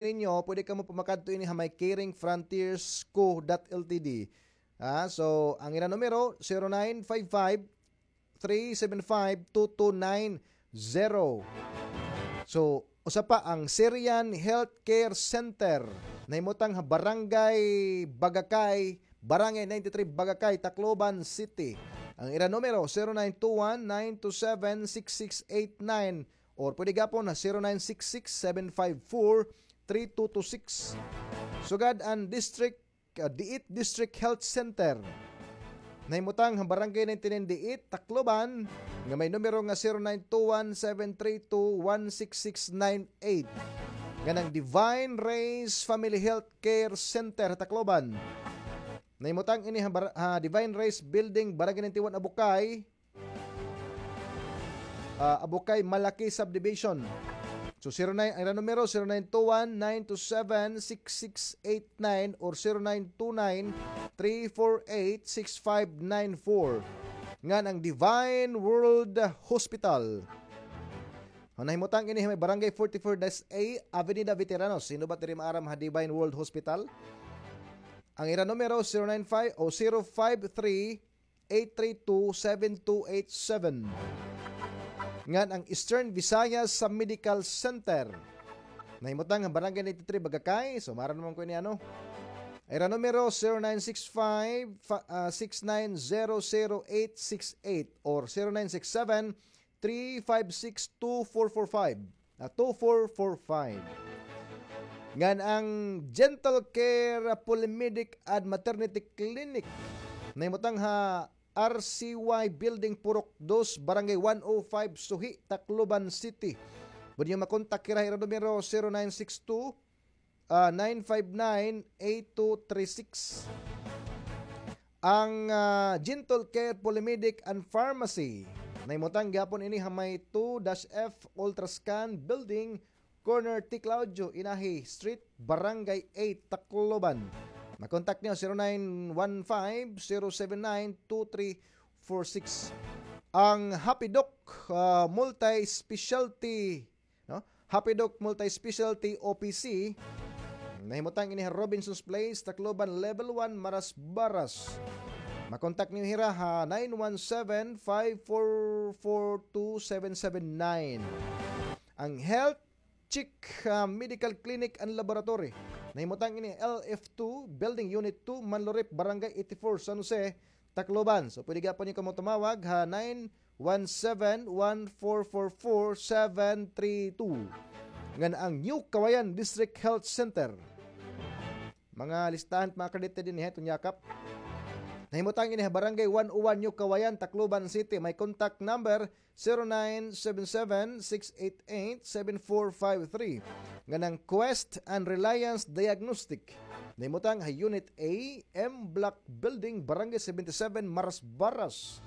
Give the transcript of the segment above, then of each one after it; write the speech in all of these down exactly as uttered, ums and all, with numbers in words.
ninyo, pwede kamo pa makadto ini ha may Caring Frontiers Co dot L T D. Ah, so, ang ira numero, zero nine five five, three seven five, two two nine zero. So, usa pa ang Syrian Healthcare Center. Nahimutang ha Barangay Bagakay, Barangay ninety-three Bagakay, Tacloban City. Ang ira numero, zero nine two one, nine two seven, six six eight nine, or pwede gapon ha zero nine six six, seven five four, three two two six. Sugad an District, ah, Diit District Health Center. Nahimutang ha Barangay ninety-nine Diit, Tacloban, nga may numero nga zero nine two one, seven three two, one six six nine eight. Ngan ang Divine Rays Family Health Care Center ha Tacloban. Nahimutang ini ha, Bar-, ha Divine Rays Building, Barangay ninety-one, Abukay. Ah, Abukay, Malaki Subdivision. So, zero nine, ang ira numero, zero nine two one, nine two seven, six six eight nine or zero nine two nine, three four eight, six five nine four. Ngan ang Divine World Hospital. Ang nahimutang ini may Barangay forty-four dash A, Avenida Veteranos. Sino ba diri maaram ha Divine World Hospital? Ang ira numero, zero nine five o zero five three, eight three two, seven two eight seven. Ngan ang Eastern Visayas sa Medical Center. Nahimutang ha Barangay ninety-three, Bagakay. So, maaram naman ko ini, ano. Ira numero, zero nine six five, fa-, ah, six nine zero zero eight six eight or zero nine six seven, three five six two four four five. Ah, two four four five. Ngan ang Gentle Care Polymedic and Maternity Clinic. Nahimutang ha R C Y Building, Purok dos, Barangay one oh five, Suhi, Tacloban City. Pwede niyo makontak hira, hira numero zero nine six two, ah, nine five nine, eight two three six. Ang, ah, Gentle Care Polymedic and Pharmacy. Nahimutang gihapon ini ha may two dash F Ultrascan Building, corner T Claudio Inahi Street, Barangay eight, Tacloban. Makontak niyo, zero nine one five, zero seven nine, two three four six. Ang Happy Doc, ah, Multi-Specialty, no? Happy Doc Multi-Specialty O P C. Nahimutang ini ha Robinson's Place, Tacloban, Level one, Marasbaras. Makontak niyo hira ha nine one seven, five four four two seven seven nine. Ang Health Chick, ah, Medical Clinic and Laboratory. Nahimutang ini L F two, Building Unit two, Manlorip, Barangay eighty-four, San Jose, Tacloban. So, pwede gihapon niyo kamo tumawag ha nine one seven, one four four four, seven three two. Ngan ang New Kawayan District Health Center. Mga listahan, mga kadete din, eh, iton yakap. Nahimutang ini ha Barangay one oh one, New Kawayan, Tacloban City. May contact number zero nine seven seven, six eight eight, seven four five three. Ngan ang Quest and Reliance Diagnostic. Nahimutang ha Unit A, M Block Building, Barangay seventy-seven, Marasbaras.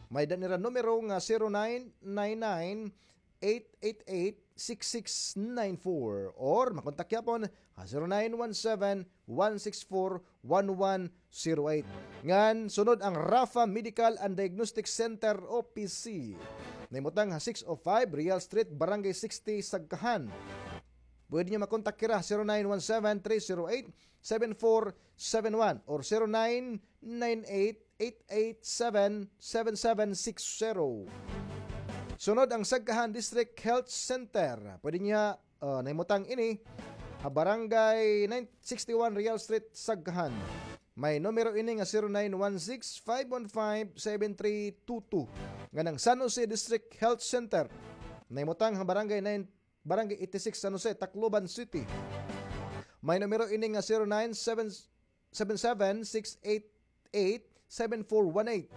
May-ada nira numero nga zero nine nine nine, eight eight eight, six six nine four, or makontak gihapon ha zero nine one seven, one six four, one one zero eight. Ngan sunod ang Rafa Medical and Diagnostic Center O P C. Nahimutang ha six oh five Real Street, Barangay sixty, Sagkahan. Pwede niyo makontak hira ha zero nine one seven, three zero eight, seven four seven one or zero nine nine eight, eight eight seven, seven seven six zero. Sunod ang Sagkahan District Health Center. Pwede niya, ah, nahimutang ini ha Barangay nine sixty-one Real Street, Sagkahan. May numero ini nga zero nine one six, five one five, seven three two two. Ngan ang San Jose District Health Center. Nahimutang ha Barangay nine Barangay eighty-six, San Jose, Tacloban City. May numero ini nga zero nine seven seven six eight eight seven four one eight.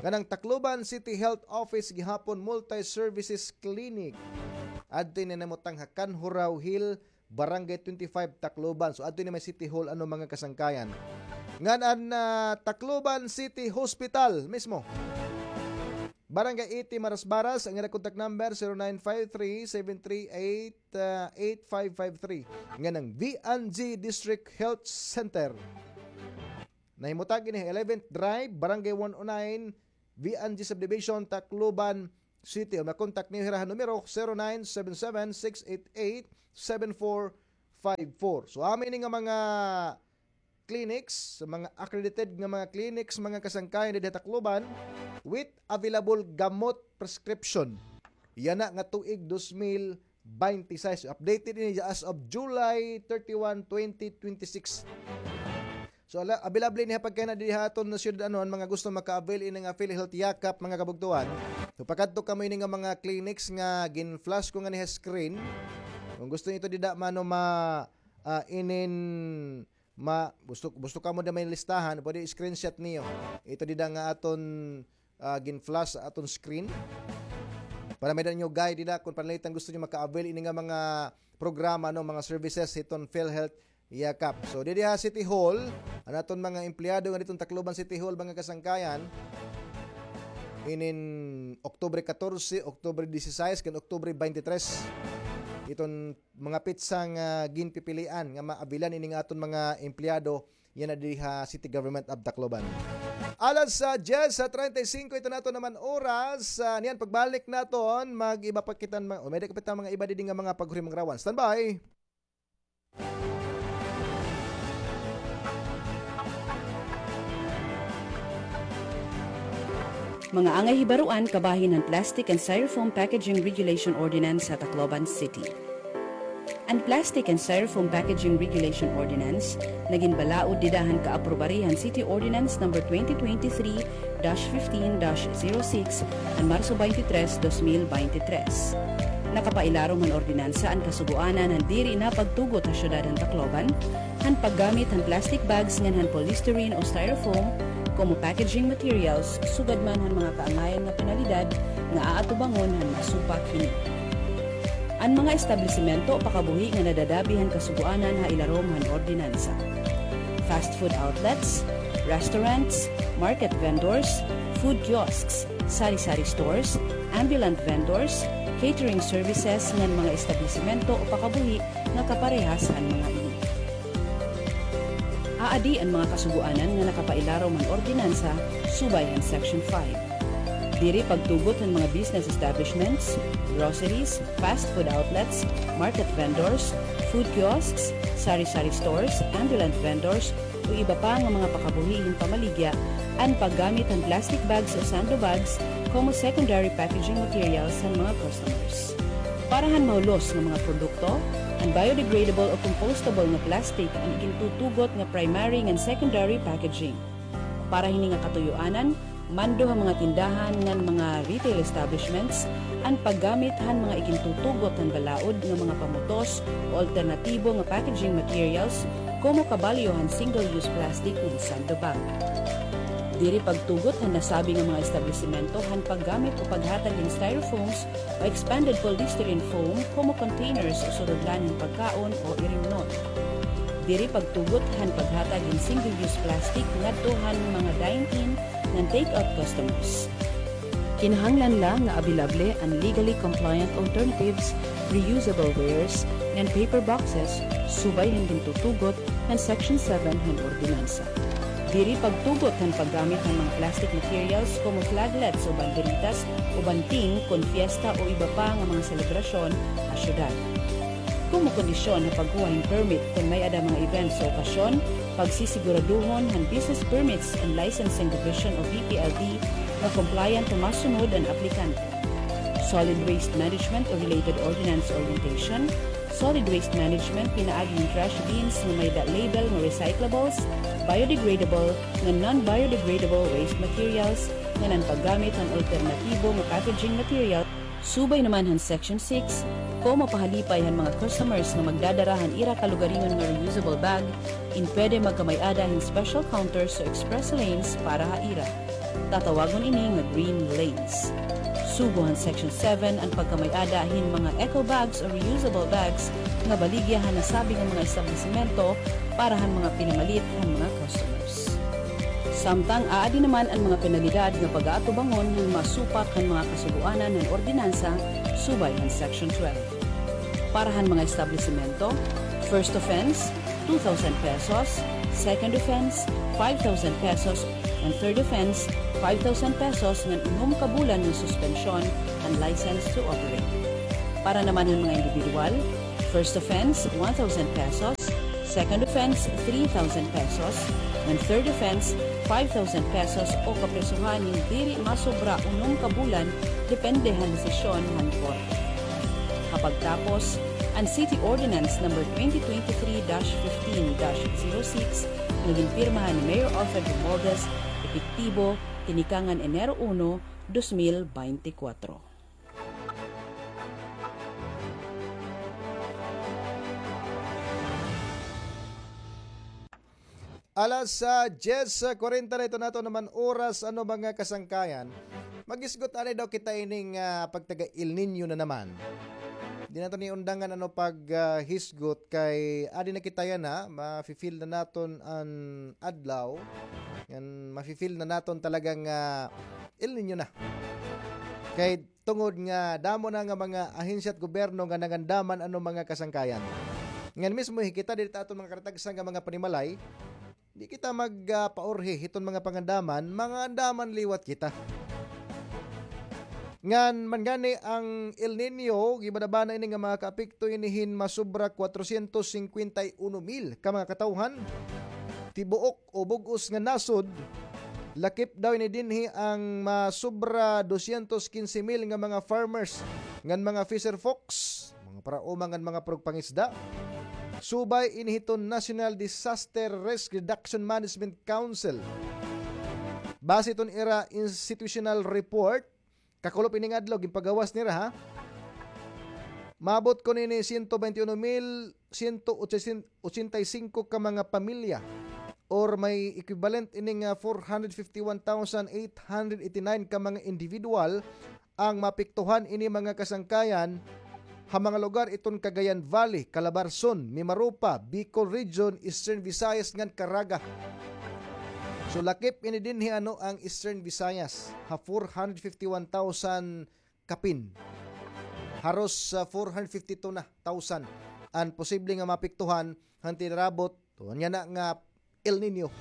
Ngan ang Tacloban City Health Office gihapon Multi-Services Clinic. Adto ini nahimutang ha Kanhurao Hill, Barangay twenty-five, Tacloban. So, adto ini may City Hall, ano, mga kasangkayan. Ngan an, ah, Tacloban City Hospital mismo. Barangay eighty, Marasbaras, ang ira contact number, zero nine five three, seven three eight, ah, eight five five three. Ngan ang V N G District Health Center. Nahimutang ini ha eleventh Drive, Barangay one oh nine, V N G Subdivision, Tacloban City. O makontak niyo hira ha numero zero nine seven seven, six eight eight, seven four five four. So, amo ini nga mga clinics, sa mga accredited nga mga clinics, mga kasangkayan didi ha Tacloban, with available gamot prescription. Yana nga tuig dos mil baynte sais. Updated ini as of July thirty-one, twenty twenty-six. So, ala, available ini ha pagkaina didi ha aton nga syudad, ano, an mga gusto maka-avail ini nga PhilHealth Yakap, mga kabugtoan. So, pakadto kamo ini nga mga clinics nga gin-flash ko ngani ha screen. Kung gusto niyo ito dida, mano, ma-, ah, inin ma-, gusto, gusto kamo dida may listahan, pwede screenshot niyo. Ito dida nga aton, ah, gin-flash sa aton screen. Para may-ada niyo guide dida kung pananglitan gusto niyo maka-avail ini nga mga programa, no, mga services hiton PhilHealth Yakap. So, didi ha City Hall, an aton mga empleyado nga diton Tacloban City Hall, mga kasangkayan, inin Oktubre katorse, Oktubre disisais, kan Oktubre baynte tres. Iton mga petsa nga ginpipilian nga maabilan ini nga aton mga empleyado yana didi ha City Government of Tacloban. Alas, ah, diyes, ah, treinta y cinco, ito na aton naman oras. Ah, niyan, pagbalik naton, mag-iba pa kita, ma-, o, may-ada pa kita mga iba didi nga mga paghurimang rawan. Standby! Mga angay hibaruan kabahin han Plastic and Styrofoam Packaging Regulation Ordinance ha Tacloban City. An Plastic and Styrofoam Packaging Regulation Ordinance nagin balaod dida han kaaprobari han City Ordinance Number twenty twenty-three dash fifteen dash zero six han Marso baynte tres, dos mil baynte tres. Nakapailarom han ordinansa an kasugoanan han diri na pagtugot ha syudad han Tacloban han paggamit han plastic bags ngan han polystyrene o styrofoam komo packaging materials, sugad man han mga kaangayan nga penalidad nga aatubangon han masupak hini. An mga establisimento o pakabuhi nga nadadabi han kasugoanan ha ilarom han ordinansa: fast food outlets, restaurants, market vendors, food kiosks, sari-sari stores, ambulant vendors, catering services ngan mga establisimento o pakabuhi nga kaparehas han mga ini. Aadi an mga kasugoanan nga nakapailarom han ordinansa subay han Section five. Diri pagtugot han mga business establishments, groceries, fast food outlets, market vendors, food kiosks, sari-sari stores, ambulant vendors, o iba pa nga mga pakabuhi hin pamaligya an paggamit han plastic bags o sando bags komo secondary packaging materials han mga customers. Para han mahulos nga mga produkto, an biodegradable o compostable nga plastic an igintutugot nga primary ngan secondary packaging. Para hini nga katuyoanan, mando ha mga tindahan ngan mga retail establishments an paggamit han mga igintutugot han balaod nga mga pamutos o alternatibo nga packaging materials komo kabalyo han single-use plastic ngan sando bag. Diri pagtugot han nasabi nga mga establisimento han paggamit o paghatag hin styrofoams o expanded polystyrene foam komo containers o surudlan hin pagkaon o irimnon. Diri pagtugot han paghatag hin single-use plastic ngadto han mga dine-in ngan take-out customers. Kinahanglan la nga abilable an legally compliant alternatives, reusable wares, ngan paper boxes subay han gintutugot han Section seven han ordinansa. Diri pagtugot han paggamit han mga plastic materials komo flaglets o banderitas o banting kon fiesta o iba pa nga mga selebrasyon ha syudad. Komo kondisyon ha pagkuha hin permit kon may-ada mga events o okasyon, pagsisiguraduhon han business permits and licensing division o B P L D nga compliant o masunod an aplikante. Solid waste management o related ordinance orientation, solid waste management pinaagi hin trash bins nga may-ada label nga recyclables, biodegradable, ngan non-biodegradable waste materials, ngan an paggamit han alternatibo nga packaging material. Subay naman han Section six, komo pahalipay han mga customers nga magdadara han ira kalugaringon nga reusable bag, in pwede magkamay-ada hin special counters o express lanes para ha ira. Tatawagon ini nga green lanes. Sugo han Section seven an pagkamay-ada hin mga eco bags o reusable bags nga baligya han nasabi nga mga establisimento para han mga pinamalit han mga customers. Samtang aadi naman an mga penalidad nga pag-aatubangon han masupak han mga kasugoanan han ordinansa subay han Section twelve. Para han mga establisimento, first offense, two thousand pesos, second offense, five thousand pesos, and third offense, five thousand pesos ngan unom ka bulan nga suspensyon han license to operate. Para naman han mga indibidwal, First offense, one thousand pesos. Second offense, three thousand pesos. Ngan third offense, five thousand pesos o kaprisohan hin diri masobra unom ka bulan, depende han desisyon han korte. Ha pagtapos, an City Ordinance Number twenty twenty-three dash fifteen dash zero six nga ginpirmahan ni Mayor Alfred Romualdez, epektibo tinikangan Enero uno, dos mil beintikwatro. Alas, ah, diyes kwarenta na iton aton naman oras, ano, mga kasangkayan. Maghisgot anay daw kita ining, ah, pagtaga El Niño na naman. Di naton iundangan, ano, pag, ah, hisgot kay adi na kita yana, mafi-feel na naton an adlaw. Ngan mafi-feel na naton talagang, ah, El Niño na. Kay tungod nga damo na nga mga ahensya at gobyerno nga nangandaman, ano, mga kasangkayan. Ngan mismo, hi kita diri ha aton mga karatagsan nga mga panimalay, di kita mag, ah, paurhi hiton mga pangandaman, mangandaman liwat kita. Ngan man gani an El Niño, gibabana ini nga makaapekto ini hin masobra kwatrosyentos singkwenta y uno mil ka mga katawhan, tibuok o bug-os nga nasod. Lakip daw ini dinhi an masobra dosyentos kinse mil nga mga farmers ngan mga fisher folks, mga paraoma ngan mga purugpangisda. Subay ini hiton National Disaster Risk Reduction Management Council. Base hiton ira institutional report, kakulop ining adlaw, ginpagawas nira, ha? Maabot kuno ini siyento bente uno mil siyento ochenta y singko ka mga pamilya, or may equivalent ini nga four hundred fifty-one thousand eight hundred eighty-nine ka mga individual ang maapektuhan ini mga kasangkayan ha mga lugar iton Cagayan Valley, Calabarzon, Mimaropa, Bicol Region, Eastern Visayas ngan Caraga. So, lakip ini dinhi, ano, ang Eastern Visayas ha four hundred fifty-one thousand kapin. Haros, ah, four hundred fifty-two na thousand an posible nga maapektuhan han tinirabot, tuod yana nga El Niño.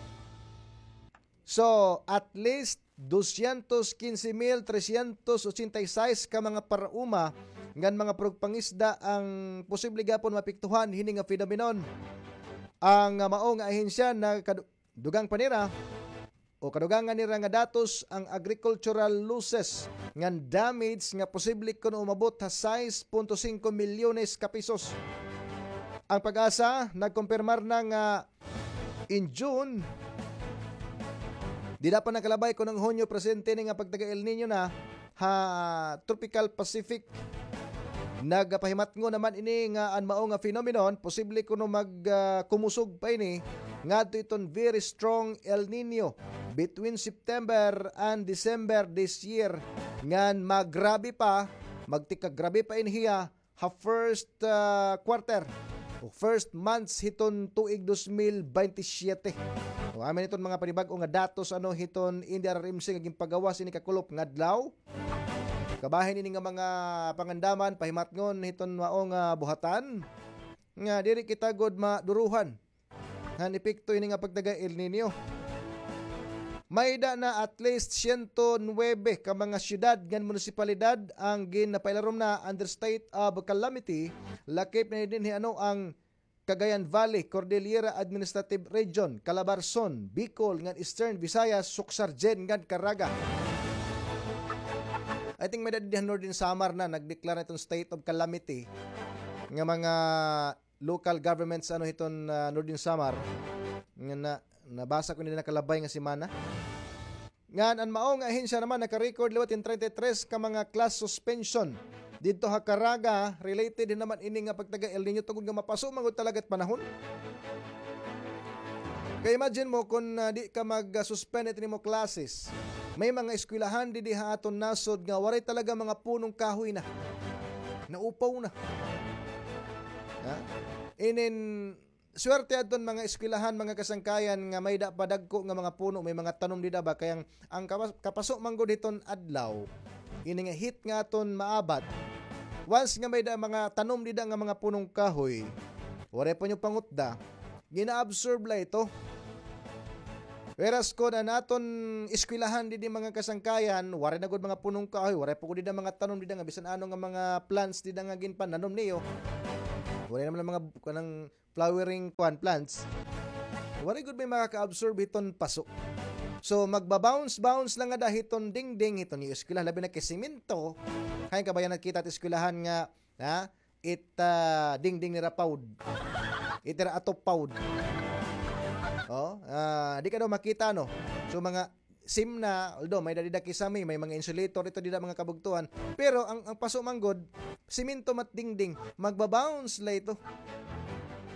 So, at least dosyentos kinse mil tresyentos ochenta y sais ka mga paraoma ngan mga purugpangisda ang posible gihapon maapektuhan hini nga phenomenon. Ang, ah, mao nga ahensya nagkadu-, dugang pa nira, o kadugangan nira nga datos, ang agricultural losses ngan damage nga posible kuno umabot ha sais punto singko milyones ka pesos. Ang PAGASA nagkumpirmar na nga in June, dida pa nakalabay kuno an Hunyo, presente ini nga pagtaga El Niño na ha Tropical Pacific. Nagapahimatngon naman ini nga an mao nga phenomenon, posible kuno mag, ah, kumusog pa ini ngadto iton very strong El Niño between September and December this year, ngan magrabe pa, magtikagrabe pa ini hiya ha first, ah, quarter o first months hiton tuig dos mil bente siyete. O, amo ini iton mga panibag-o nga datos, ano, hiton N D R R M C nga ginpagawas ini kakulop nga adlaw. Kabahin ini nga mga pangandaman, pahimatngon hiton mao nga buhatan nga diri kita gud maduruhan han epekto ini nga pagtaga El Niño. May-ada na at least siyento nuwebe ka mga syudad ngan munisipalidad ang ginpailarom na under state of calamity, lakip na dinhi, ano, ang Cagayan Valley, Cordillera Administrative Region, Calabarzon, Bicol, ngan Eastern Visayas, Soccsksargen, ngan Caraga. I think may-ada dinhi ha Northern Samar na nagdeklara iton state of calamity nga mga local governments, ano, hiton, ah, Northern Samar. Nga na, nabasa ko ini nakalabay nga semana. Ngan an mao nga ahensya naman naka-record liwat hin treinta y tres ka mga class suspension didto ha Caraga, related din naman ini nga pagtaga El Niño tungod nga mapaso man gud talaga it panahon. Kay imagine mo kun, ah, di ka mag-suspend it imo classes. May mga eskwelahan didi ha aton nasod nga waray talaga mga punong kahoy na. Naupaw na. Ha? Inin, swerte adton mga eskwelahan, mga kasangkayan, nga may-ada pa dagko nga mga puno, may mga tanom dida ba. Kay ang, ang kapas-, kapaso man gud hiton adlaw, ini nga heat nga aton maabat. Once nga may-ada mga tanom dida nga mga punong kahoy, waray pa niyo pangutda, gina-absorb la ito. Whereas kun an aton eskwelahan didi, mga kasangkayan, waray na gud mga punong kahoy, waray pa gud dida mga tanom dida nga bisan ano nga mga plants dida nga ginpananom niyo, Waray naman mga kanang flowering kuan plants. Waray gud may makaka-absorb hiton paso. So, magba-bounce-bounce lang ngada hiton dingding, hiton iyo eskwelahan, labi na kay semento. Hain ka ba yan nakita it eskwelahan nga, ha? It, ah, dingding nira pawd. It ira atop pawd. Oh, ah, di ka daw makita, no? So, mga sim na, although may dadi da kisame, may mga insulator ito dida, mga kabugtuan. Pero ang, ang paso man gud, semento mat dingding, magba-bounce la ito.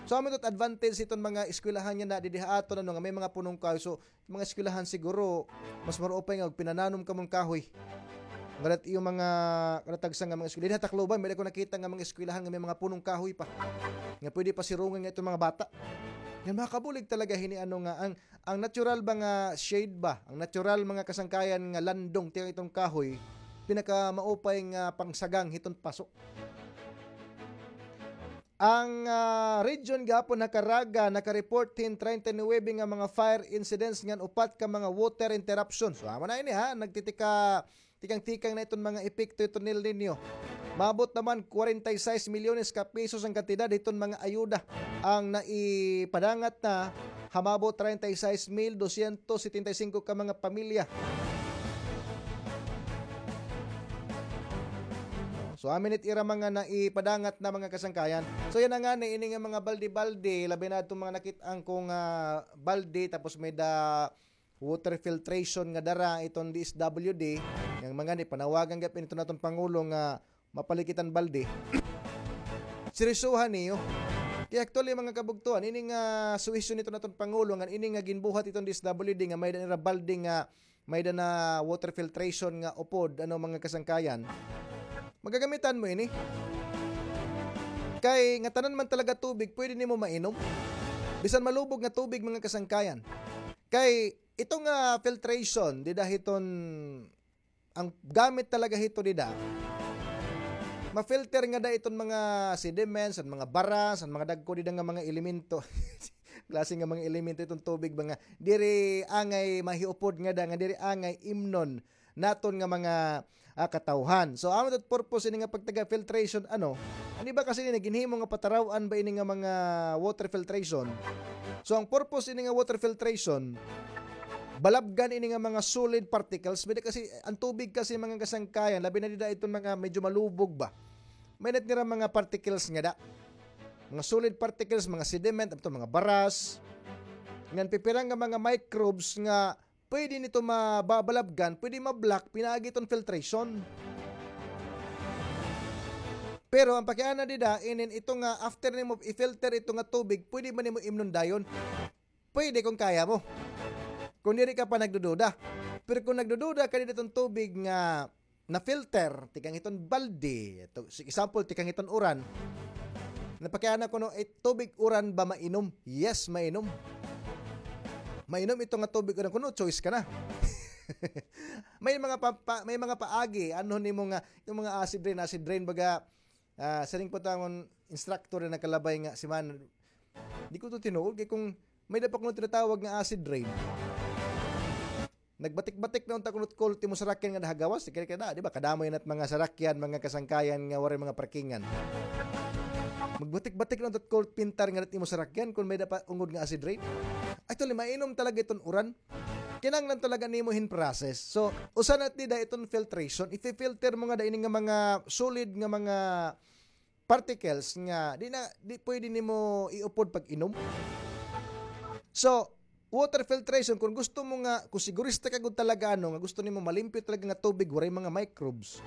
So, amo ito advantage iton mga eskwelahan nga na didi ha aton, ano, nga may mga punong kahoy. So, mga eskwelahan siguro, mas maruupay nga pinananom kamo hin kahoy. Ngada it iyo mga karatagsan nga mga eskwelahan. Didi ha Tacloban, may ako nakita nga mga eskwelahan nga may mga punong kahoy pa. Nga pwede pa sirungan nga iton mga bata. Nga makabulig talaga hini, ano, nga ang, ang natural ba nga shade ba? Ang natural mga kasangkayan nga landong, tiyan iton kahoy, pinakamaupay nga pangsagang hiton paso. Ang, ah, region gihapon ha Caraga, naka-report hin treinta y nuebe nga mga fire incidents ngan upat ka mga water interruption. So, amo na ini, ha, nagtitika, tikang-tikang na iton mga epekto iton El Niño. Maabot naman kwarenta y sais milyones ka pesos ang kantidad hiton mga ayuda ang naipadangat na ha maabot treinta y sais mil dosyentos setenta y singko ka mga pamilya. So, amin it ira mga naipadangat na mga kasangkayan. So, yana ngani, ini nga mga balde-balde, labi na itong mga nakit-an kong, ah, balde, tapos may da water filtration nga dara iton D S W D, nga mga ni panawagan gihapon iton aton Pangulo nga mapalikitan balde. Seryosohan niyo. Kay actually, mga kabugtuan, ini nga suhesyon iton aton Pangulo, nga ini nga ginbuhat iton D S W D, nga may da nira balde nga may da na water filtration nga upod, ano, mga kasangkayan. Magagamitan mo ini. Kay ngatanan man talaga tubig, pwede nimo mainom. Bisan malubog nga tubig, mga kasangkayan. Kay ito nga filtration, dida hiton, ang gamit talaga hito dida, ma-filter ngada iton mga sediments, an mga baras, an mga dagko dida nga mga elemento. Klase nga mga elemento iton tubig ba nga diri angay mahiupod ngada, nga diri angay imnon naton nga mga, ah, katawhan. So, amo it purpose ini nga pagtaga filtration, ano? An iba kasi ini ginhimo nga pataraw-an ba ini nga mga water filtration. So, ang purpose ini nga water filtration, balabgan ini nga mga solid particles. May da kasi, ang tubig kasi, mga kasangkayan, labi na dida iton mga medyo malubog ba, may da it nira mga particles ngada. Mga solid particles, mga sediment, ato mga baras. Ngan pipira nga mga microbes nga pwede nito mababalabgan, pwede ma-block pinaagi iton filtration. Pero ang pakiana dida, inin ito nga after nimo i-filter ito nga tubig, pwede man nimo imnon dayon. Pwede kung kaya mo. Kung diri ka pa nagdududa. Pero kung nagdududa ka dida iton tubig nga na-filter, tikang hiton balde. Ito, si-, example, tikang hiton uran. Napakiana kuno, eh, tubig uran ba mainom? Yes, mainom. Mainom ito nga tubig uran. Kuno, choice ka na. May mga pa-, pa-, may mga paagi, ano nimo nga, itong mga acid rain, acid rain, baga, ah, siring pa it akon instructor na nakalabay nga semana. Di ko to tinuod, kay kung may da pa kuno tinatawag nga acid rain. Nagbatik-batik na unta kuno it kulot it imo sarakyan nga nahagawas, kay kada, di ba, kadamo yana it mga sarakyan, mga kasangkayan nga waray mga parkingan. Magbatik-batik na unta it kulot pintar nga it imo sarakyan, kung may da pa ungod nga acid rain. Actually, mainom talaga iton uran. Kinahanglan talaga nimo hin process. So, usa na dida iton filtration. Ifi-filter mo ngada ini nga mga solid nga mga particles nga di na, di pwede nimo iupod pag-inom. So, water filtration, kung gusto mo nga, kung sigurista ka gud talaga, ano, nga gusto nimo malimpyo talaga nga tubig, waray mga microbes,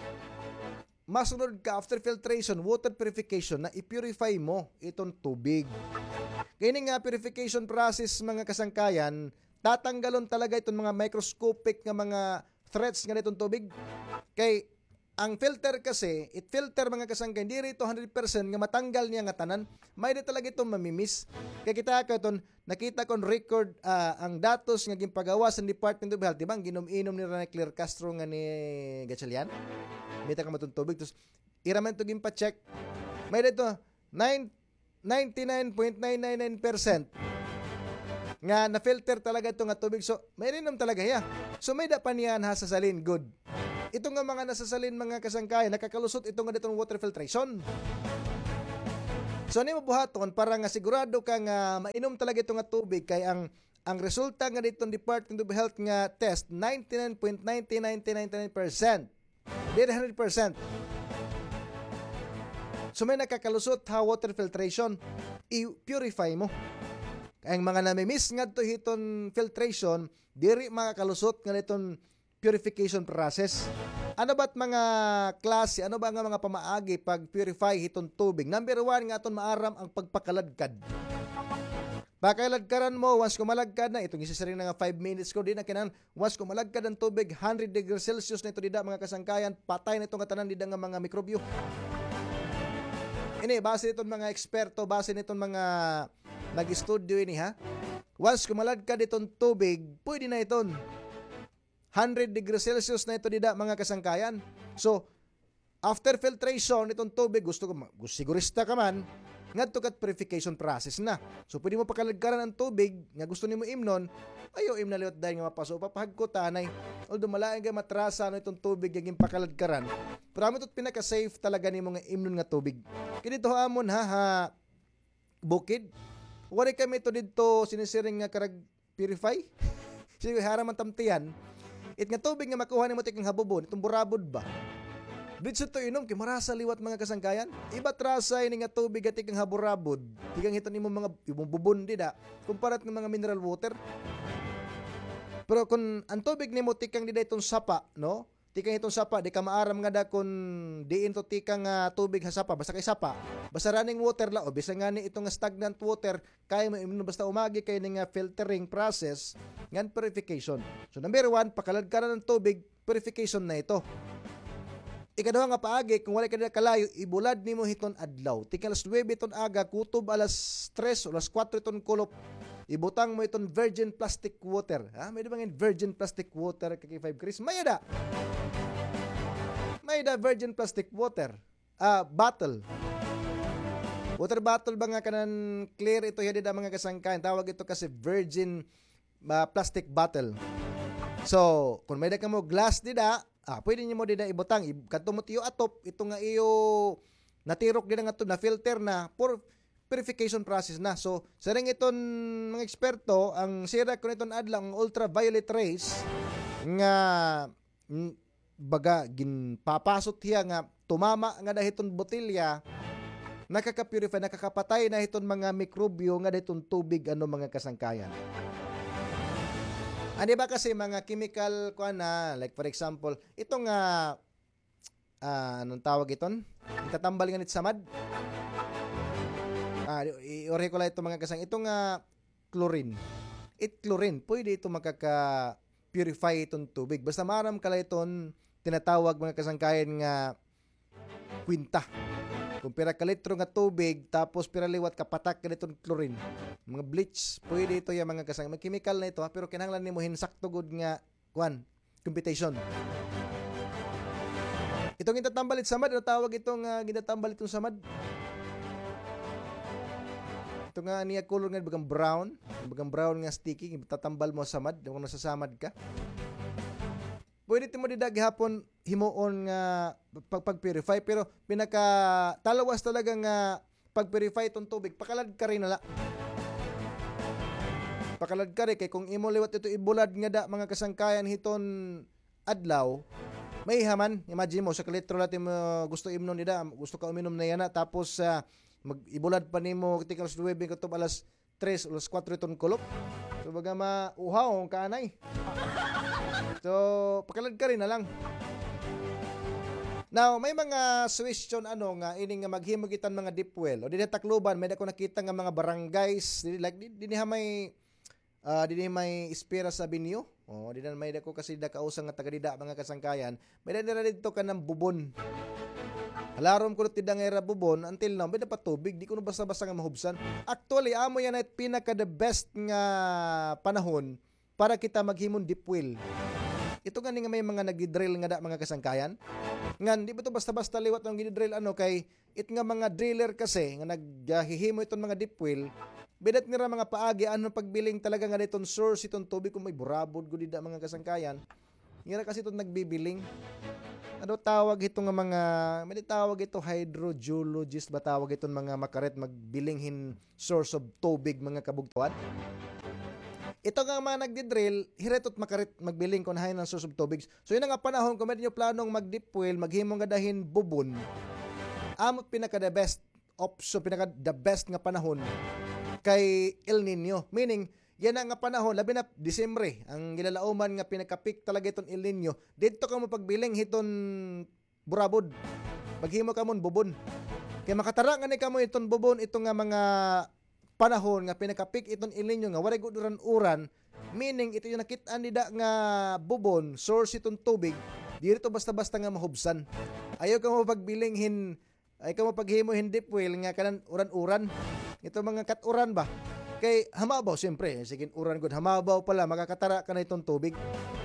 masunod ka after filtration, water purification, na i-purify mo iton tubig. Kay ini nga purification process, mga kasangkayan, tatanggalon talaga iton mga microscopic nga mga threats nga iton tubig. Kay ang filter kasi, it filter, mga kasangkayan, diri ito hundred percent nga matanggal niya nga tanan. May da talaga ito mamimiss. Kay kita ka iton, nakita kon record, ah, ang datos nga ginpagawas sa Department of Health, di ba? Ang ginom-inom ni Rene Claire Castro nga ni Gatchalian. Mita ka matong tubig. Tapos, ira man ito ginpa-check. May da ito, nine, ninety-nine point nine nine nine percent nga na-filter talaga ito nga tubig. So, may rinom talaga hiya. So, may da pa niya nasasalin. Good. Ito nga mga nasasalin, mga kasangkayan, nakakalusot ito nga ditong water filtration. So, ano imo buhaton para nga sigurado ka nga mainom talaga ito nga tubig kay ang, ang resulta nga diton Department of Health nga test, ninety-nine point nine nine nine nine percent. Diri hundred percent. So, may nakakalusot ha water filtration. I-purify mo. Kay ang mga namimiss ngadto hiton filtration, diri makakalusot nga diton purification process. Ano ba't mga klase, ano ba nga mga pamaagi pag-purify hiton tubig? Number one, nga aton maaram ang pagpakaladkad. Pakaladkaran mo, once ko malagkad na, itong isisiring na nga five minutes ko, di na kinahanglan, once ko malagkad ang tubig, hundred degrees Celsius na ito dida, mga kasangkayan, patay na ito nga tanan dida nga mga mikrobyo. Ini, base niton mga eksperto, base niton mga nag-studio ini, ha? Once ko malagkad itong tubig, pwede na iton. Hundred degrees Celsius na ito dida, mga kasangkayan. So, after filtration, itong tubig, gusto ko, ma-, gus-, sigurista ka man, ngadto kat purification process na. So, pwede mo pakaladkaran ang tubig nga gusto nimo imnon, ayaw imna liwat dahil nga mapaso, papahagkot anay. Although, malain kay matrasa, ano, itong tubig nga ginpakaladkaran. Pero amo ito't pinaka-safe talaga nimo nga imnon nga tubig. Kay dito ha amon, ha, ha, bukid. Waray kami ito dito sinisiring nga karag purify. Sige, hara man tamtiyan. It nga tubig nga makuha nimo tikang habubon, itong burabod ba? Dito to inom, kay marasa liwat, mga kasangkayan. Iba trasa ini nga tubig nga tikang haburabod. Tikang hiton imo mga, imo bubon dida. Kumparat ng mga mineral water. Pero kung ang tubig nimo tikang dida itong sapa, no? Tikang itong sapa, di ka maaram nga da kun diin to tikang, ah, tubig ha sapa, basta kay sapa. Basta running water la, o bisan ngani itong stagnant water, kaya mo imnon basta umagi kay ning, ah, filtering process ngan purification. So, number one, pakaladkaran ang tubig, purification na ito. Ikaduha nga paagi, kung wala ka na kalayo, ibulad nimo hiton adlaw. Tikang alas nuwebe iton aga, kutob alas tres o alas kuwatro iton kulop, ibutang mo iton virgin plastic water. Ha? May da ba ngay-an virgin plastic water, K K five Chris? May da. May da virgin plastic water. Ah, bottle. Water bottle ba nga kanan clear ito, hiya dida, mga kasangkayan. Tawag ito kasi virgin, ah, plastic bottle. So, kung may da kamo glass dida, ah, pwede nimo dida ibutang. Ib-, kadto mo tiyo atop, ito nga iyo natirok dida nga to, na-filter na, for purification process na. So, siring iton mga eksperto, ang sira kun iton adlaw, ang ultraviolet rays, nga, mm, baga, ginpapasot hiya nga tumama nga da hiton botilya, nakaka-purify, nakakapatay na hiton mga mikrobyo nga da hiton tubig, ano, mga kasangkayan. Ano ba kasi mga chemical, kuan na, like for example, ito nga, ah, anong tawag iton? Itatambal nga nit samad. Ah, i-, i-, ore ko lang ito, mga kasang. Ito nga chlorine. It chlorine, pwede ito makaka-purify iton tubig. Basta maaram ka lang iton tinatawag, mga kasangkayan, nga kwinta. Kung pira ka litro nga tubig, tapos pira liwat ka patak ka diton chlorine. Mga bleach, pwede ito yan, mga kasang. May chemical na ito, ha, pero kinahanglan nimo hinsakto gud nga kuan, computation. Itong gintatambal it samad, ano tawag itong, ah, gintatambal itong samad? Ito nga niya color nga bagang brown, bagang brown nga sticky, tatambal mo samad, kung nasasamad ka. Pwede timo dida gihapon himuon nga pag, pag-purify, pero pinaka talawas talaga nga pag-purify iton tubig, pakaladkari na la. Pakaladkari kay kung imo liwat ito ibulad nga da, mga kasangkayan, hiton adlaw, maiha man. Imagine mo, usa ka litro la it imo gusto imnon dida, gusto ka uminom na yana, tapos, ah, mag-, ibulad pa nimo tikang alas nuwebe kutob alas tres o alas kuwatro iton kulop. So, baga mauhaw ka anay. So, pakaladkari na lang. Now, may mga suggestion, ano, nga ini nga maghimo kita hin mga deep well. O dinhi ha Tacloban, may da ko nakita nga mga barangays, di, like, di, dinhi ha may, ah, dinhi ha may Esperas Avenue. O, dinhi ha may da ko kasi da kausa nga taga dida, mga kasangkayan. May da nira didto kanan bubon. Halarom ko didto nga ira bubon, until now, may da pa tubig, di kuno basta-basta nga mahubsan. Actually, amo yana it pinaka the best nga panahon para kita maghimo hin deep well. Ito gani nga may mga nagdi-drill ngada, mga kasangkayan. Ngan, di ba ito basta-basta liwat an gidi-drill, ano, kay it nga mga driller kasi nga naghihimo iton mga deep well, may da it nira mga paagi, ano, pagbiling talaga nga diton source iton tubig kung may burabod gud dida, mga kasangkayan. Nira kasi iton nagbibiling. ano tawag hito nga mga, may tawag ito, hydrogeologist ba tawag iton mga makarit magbiling hin source of tubig, mga kabugtuan? Ito nga mga nagdi-drill, hira ito makarit magbiling kon hain an source of tubig. So, yana nga panahon, kon may-ada niyo planong mag-deep well, maghimo ngada hin bubon, amo pinaka the best option, pinaka the best nga panahon kay El Niño. Meaning, yana nga panahon, labi na Disyembre, an ginlalauman nga pinaka-peak talaga iton El Niño, didto kamo pagbiling hiton burabod. Maghimo kamo hin bubon. Kay makatara ngani kamo iton bubon, ito nga mga panahon nga pinaka-peak iton El Niño nga waray gud uran-uran, meaning ito nga nakit-an dida nga bubon, source iton tubig, diri ito basta-basta nga mahubsan. Ayaw kamo pagbiling hin, ayaw kamo paghimo hin deep well nga kanan uran-uran. Ito mga kat-uran ba? Kay hamabaw, siyempre, sige, uran gud, hamabaw pala, makakatara ka na iton tubig.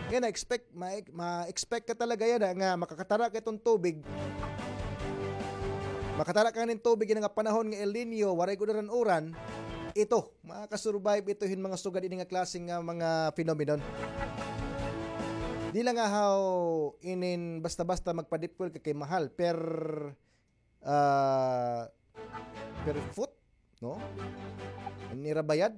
Kaya na-expect, ma-, ma-expect ka talaga yana nga makakatara ka iton tubig. Makatara ka nin tubig yana nga panahon nga El Niño, waray gud uran-uran. Ito, makaka-survive ito hin mga sugad ini nga klase nga mga phenomenon. Di la nga haw inin basta-basta magpa-deep well ka kay mahal, per, ah, per foot, no? An ira bayad.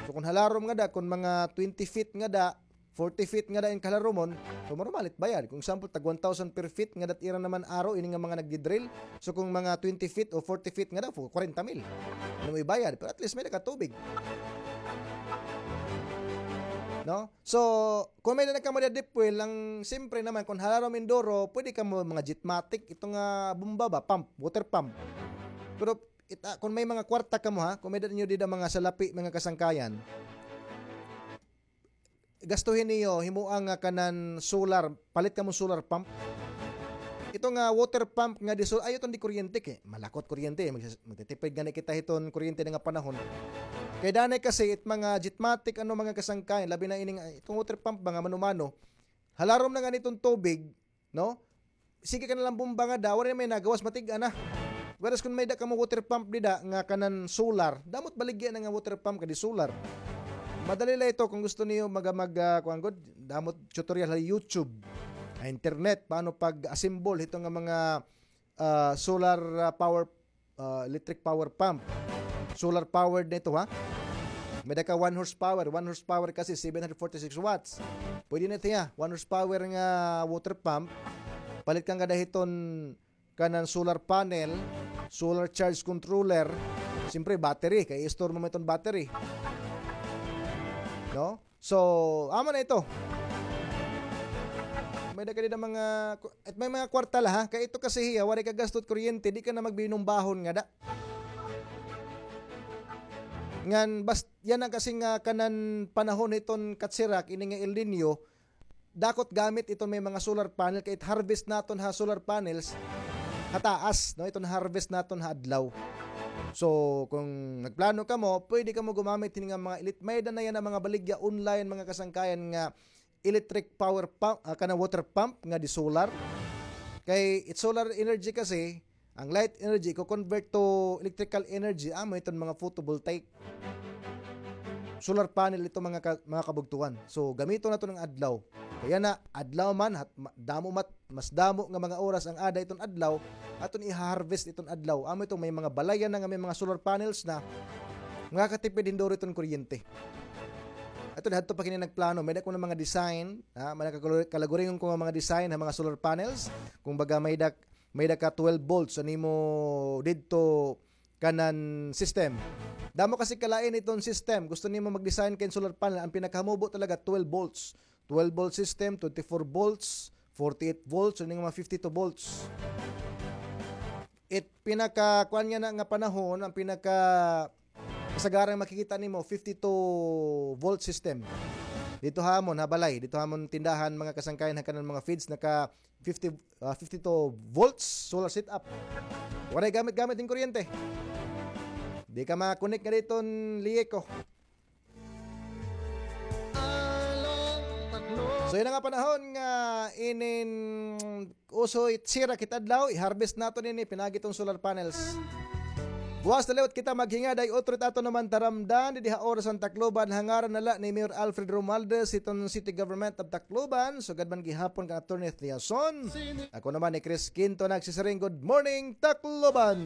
So, kon halarom ngada, kon mga twenty feet ngada, forty feet ngada in kahalaromon, so, normal it bayad. Kon example, tag one thousand per feet ngada it ira naman aro, ini nga mga nagdi-drill. So, kon mga twenty feet o forty feet ngada, fu-, kwarenta mil. Ano may bayad? Pero at least may-ada ka tubig. No? So, kon may-ada na kamo dida deep well, an siyempre naman, kon halarom in duro, pwede kamo mga Jetmatic, ito nga bomba ba, pump, water pump. Pero, ita, kon may mga kwarta kamo, ha, kon may-ada niyo dida mga salapi, mga kasangkayan, gastuhin niyo, himoa nga kanan solar, palit kamo solar pump. Ito nga water pump nga di sol-, ayaw iton di kuryente kay malakot kuryente, mag-, magtitipid gani kita hiton kuryente nga panahon. Kay danay kasi it mga Jetmatic, ano, mga kasangkayan, labi na ining, iton water pump ba nga mano-mano, halarom na ngani iton tubig, no? Sige ka na la bomba ngada, waray na may nagawas, matig-a na. Whereas kon may-ada kamo water pump dida nga kanan solar, damo it baligya na nga water pump kay di solar. Madali la ito kon gusto niyo mag-, mag-, ah, kuan gud, damo it tutorial ha YouTube, ha internet, paano pag-assemble hito nga mga, ah, solar, ah, power, ah, electric power pump. Solar powered na ito, ha? May-ada ka one horsepower. One horsepower kasi seven hundred forty-six watts. Pwede na ito, ha? One horsepower nga water pump. Palit ka ngada hiton kanan solar panel, solar charge controller. Siyempre, battery. Kay i-store mo man iton battery. No? So, amo na ito. May-ada ka dida mga, ku-, at may mga kwarta la, ha? Kay ito kasi hiya, waray ka gasto it kuryente, di ka na magbinumbahon ngada. Ngan, bas-, yana kasi nga kanan panahon hiton katsirak, ini nga El Niño, dako it gamit iton may mga solar panel, kay it harvest naton ha solar panels, ha taas, no? Iton harvest naton ha adlaw. So, kon nagplano kamo, pwede kamo gumamit hini nga mga elit-, may-ada na yana mga baligya online, mga kasangkayan, nga electric power pump, ah, kana water pump nga di solar. Kay it solar energy kasi, an light energy, iko-convert to electrical energy, amo iton mga photovoltaic. Solar panel ito, mga ka-, mga kabugtuan. So, gamiton naton an adlaw. Kay yana, adlaw man, hat-, ma-, damo mat-, mas damo nga mga oras an ada iton adlaw, aton iha-harvest iton adlaw. Amo iton may mga balay yana nga may mga solar panels na, makakatipid hin duro iton kuryente. Ato, hadto pa kini nagplano, may-ada ko na mga design, ha, may-ada ka-, kalaguringon ko nga mga design ha mga solar panels. Kumbaga, may-ada, may-ada ka twelve volts, an imo didto kanan system. Damo kasi kalain iton system. Gusto nimo mag-design ka hin solar panel, an pinakahamubo talaga twelve volts. Twelve volt system, twenty-four volts, forty-eight volts, an mga fifty-two volts. It pinaka, kuan yana nga panahon, an pinaka kasagaran makikita nimo, fifty-two volt system. Didto ha amon ha balay, didto ha amon tindahan, mga kasangkayan, ha kanan mga feeds, naka fifty, ah, fifty-two volts solar setup. Waray gamit-gamit hin kuryente. Di ka ma-connect ngada hiton liye ko. So, yana nga panahon nga inin uso it sirak hit adlaw, i-harvest naton ini, pinaagi hiton solar panels. Buwas na liwat kita maghingad, ay utro it aton naman taramdan didi ha Oras han Tacloban, ha ngaran na la ni Mayor Alfred Romualdez, hiton City Government of Tacloban, sugad man gihapon kan Attorney Thiason. Ako naman ni Chris Quinto nagsisiring, good morning, Tacloban!